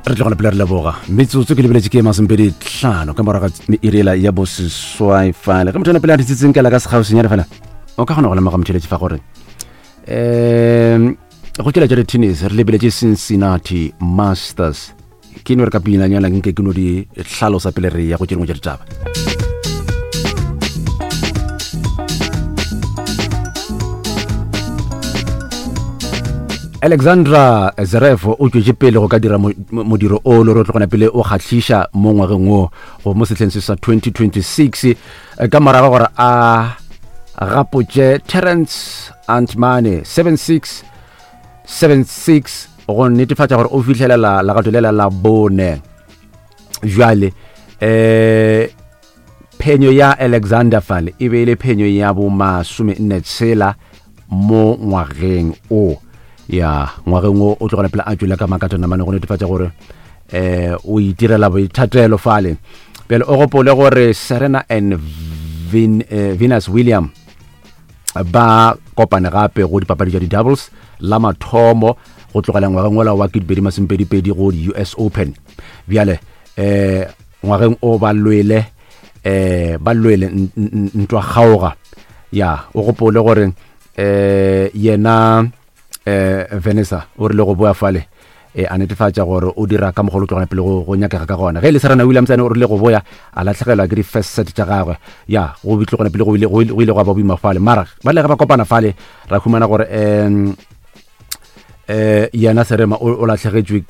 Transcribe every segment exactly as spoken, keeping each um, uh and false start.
Re tlogela pele re leboga metsotso ke lebeletše ke masomepedi tlhano ka morago ga irela ya boseswai fale. Ge motho ena pele a ditsitseng kela ka sekgauswinyane fela, o ka kgona go lemoga motšheletše fa gore um go tšela tša di-tennis re lebeletše Cincinnati Masters. Ke no re ka pinanyana nke ke no di hlalosa pele re ya go tše dingwe tša ditaba. Alexandra Zverev o tšwetše pele go ka dira modiro o le gore o tlogona pele o kgahliša mo ngwageng wo go mo sehleng se sa twenty twenty-six, ka morago gore a gapotše Terence Antmane seven six seven six go netefatša gore o fihlelela legato lela la bone. Jwale eh phenyo ya Alexander fale e be e le phenyo ya bo masome nne tshela mo ngwageng o. Ya ngwageng o o tlogela pele a tšwele ka makatana mane go netefatša gore eh o itirela boithatelo fale. Bjale o gopole gore Serena and Vin, eh, Venus William ba kopane gape go dipapadi tša di-doubles la mathomo go tlogela ngwageng ola wa ketepedi masomepedi-pedi go di-U S Open. Bjale eh ngwageng o ba lwele eh ba lwele ntwa kgaoga. Ya o gopole gore eh yena eh Vanessa o rile go boa fale eh a netefatša gore o dira ka mogolo tlogana pele go go nyakega ka gona. Ge le Serena Williams ene o rile go boya a latlhegelwa ke di-first set tša gagwe. Ya go tlogana pele go ile go ile go ba boima fale, mara ba le ge ba kopana fale ra humana gore em eh yena Serena o latlhegetšwe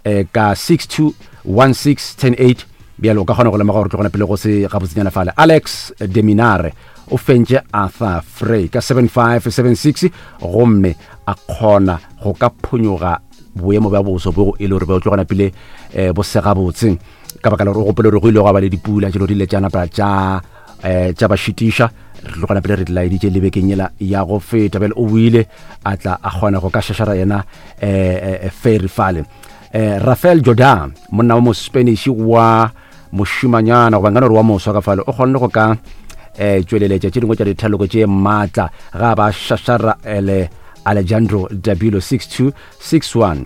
eh ka six two one six ten eight. Bjale o ka kgona go lemoga gore tlogana pele go se gabotsenyana fale. Alex de Minaur o fentše Arthur Frey ka seven five seven six gomme a kgona go ka phonyoga boemo bja boso bo e le gore ba tlogana pele eh bo sega botse ka baka la gore o gopole gore go ile go ba le dipula tšelo di ile tša napa tša eh tša ba šitiša. Re tlogana pele re di laeditše le bekeng yela ya go feta. Bjale o buile a tla a kgona go ka šašara yena eh Ferry fale. Eh Rafael Jordan monna wa mo Spanish wa mošimanyana goba nkana gore wa moswa ka fale o kgonne go ka eh tšweleletša tše dingwe tša dithaloko tše maatla ga ba šašara ele Alejandro Dabilo six two six one.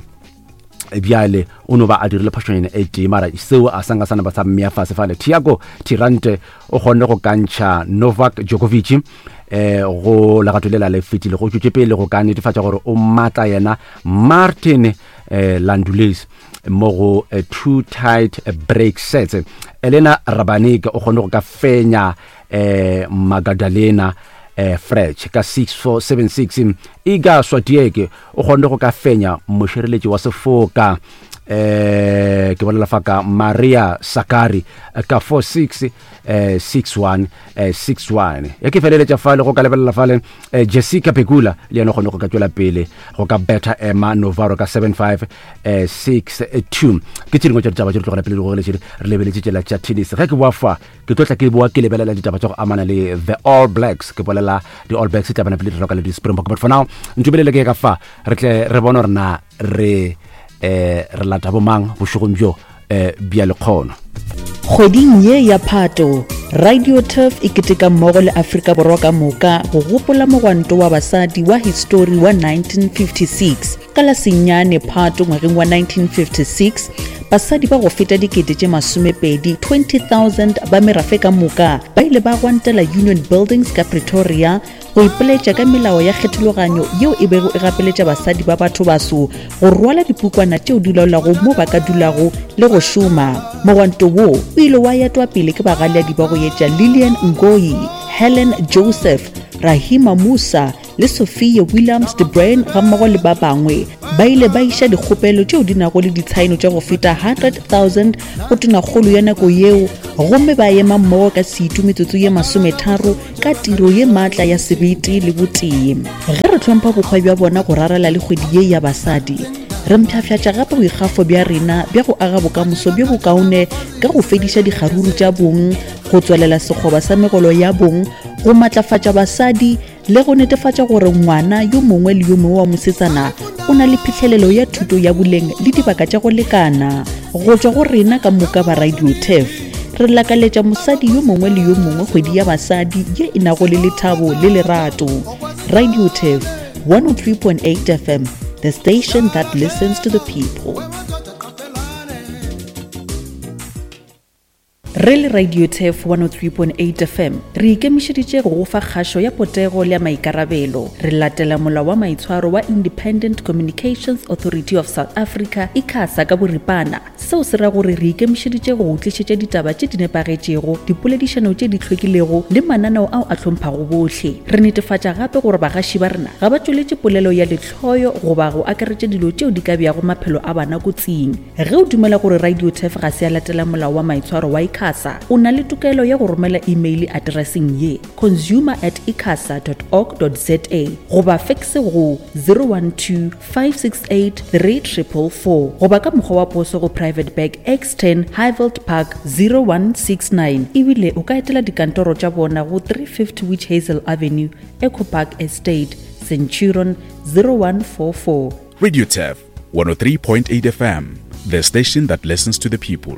Bjale o no ba a dirile phošonyana e tee, mara seo a sanka sana ba sa mmea fase fale. Thiago Tirante o kgonne go kantšha Novak Djokovic eh go legato lela le fetile go tšwetše pele go ka netefatša gore o maatla yena Martin eh Landules mo go eh, two tight break sets. Elena Rabanik o kgonne go ka fenya eh Magdalena eh Frech ka six four seven six. Iga Swiatek o kgonne go ka fenya mošireletši wa sefoka eh ke bolela fa ka Maria Sakkari ka four six eh six one eh six one. Ya ke feleletša fale go ka lebelela fale eh, Jessica Pegula le yena kgone go ka tšwela pele go ka betha Emma Novaro ka seven five eh six two. Ke tše dingwe tša ditaba tše di tlogela pele di gogeletše re lebeletše tšela tša tennis. Ge ke boa fa ke tlo tla ke boa ke lebelela ditaba tša go amana le the All Blacks. Ke bolela di All Blacks tla bana pele di roka le di Springbok, but for now ntubelele ke ka fa re tle re bone gore na re eh re lata bomang bošegong bjo eh bja lekgono. Kgweding ye ya Phato, Radio Turf e keteka mmogo le Afrika Borwa ka moka go gopola mogwanto wa basadi wa histori wa nineteen fifty-six. Ka la senyane Phato ngwageng wa nineteen fifty-six, basadi ba go feta dikete tše masomepedi twenty thousand ba merafe ka moka ba ile ba gwantela Union Buildings ka Pretoria go ipoletša ka melao ya kgethologanyo yeo e bego e gapeletša basadi ba batho baso go rwala dipukwana tšeo di laolago mo ba ka dulago le go šoma. Mogwanto wo o ile wa etwa pele ke bagaleadi ba go etša Lillian Ngoyi, Helen Joseph, Rahima Musa le Sophia Williams de Bruyn gammogo le ba bangwe. Ba ile ba iša dikgopelo tšeo di nago le ditshaeno tša go feta hundred thousand go tonakgolo ya nako yeo, gomme ba ema mmogo ka setu metsotso ye masometharo ka tiro ye maatla ya sebete le botee. Ge re hlompha bokgwa bja bona go rarela le kgwedi ye ya basadi, re mpshafšatša gape boikgafo bja rena bja go aga bokamoso bjo bokaone ka go fediša dikgaruru tša bong, go tswelela sekgoba sa megolo ya bong, go matlafatša basadi le go netefatša gore ngwana yo mongwe le yo mongwe wa mosetsana o na le phihlelelo ya thuto ya boleng le dibaka tša go lekana. Go tšwa go rena ka moka ba Radio Turf, re lakaletša mosadi yo mongwe le yo mongwe kgwedi ya basadi ye e nago le lethabo le lerato. Radio Turf one oh three point eight F M, the station that listens to the people. Re le Radio Turf one oh three point eight F M re ikemišeditše go go fa kgašo ya potego le ya maikarabelo. Re latela molao wa maitshwaro wa Independent Communications Authority of South Africa, ICASA ka boripana. Seo se ra gore re ikemišeditše go go tlišetša ditaba tše di nepagetšego, dipoledišano tše di hlwekilego le mananeo ao a hlomphago bohle. Re netefatša gape gore bagaši ba rena ga ba tšweletše polelo ya lehloyo goba go akaretša dilo tšeo di ka beago maphelo a bana kotsing. Ge o dumela gore Radio Turf ga se ya latela molao wa maitshwaro wa ICASA, o na le tokelo ya go romela email atereseng ye consumer at icasa dot org dot za goba fax go zero one two five six eight three triple four goba ka mokgwa wa poso go Private Bag X ten Highveld Park zero one six nine. Ebile o ka etela dikantoro tša bona go three fifty Witch Hazel Avenue, Echo Park Estate, Centurion zero one four four. Radio Turf one oh three point eight F M, the station that listens to the people.